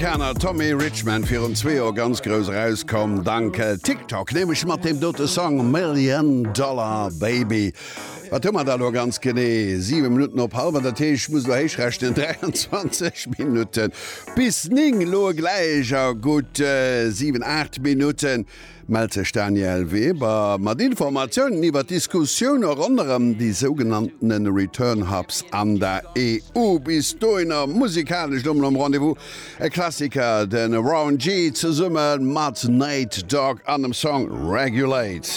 Amerikaner Tommy Richman, virun zwee Joer ganz grouss erauskomm dank TikTok, nämlech mat deem dote Song Million Dollar Baby. Wat hu mer da lo ganz genee? 7 Minutten op hallwer, dat heescht, ech muss elo héich rechnen, 23 Minutten bis 9. Elo gläich a gutt 7, 8 Minutten mellt sech Danièle Weber mat Informatiounen iwwer d'Diskussioune ronderëm déi sougenanntene Return Hubs an der EU. Bis dohinner musikalesch elo mol am Rendez-vous e Klassiker, de Warren G zesumme mat Nate Dogg an dem Song Regulate.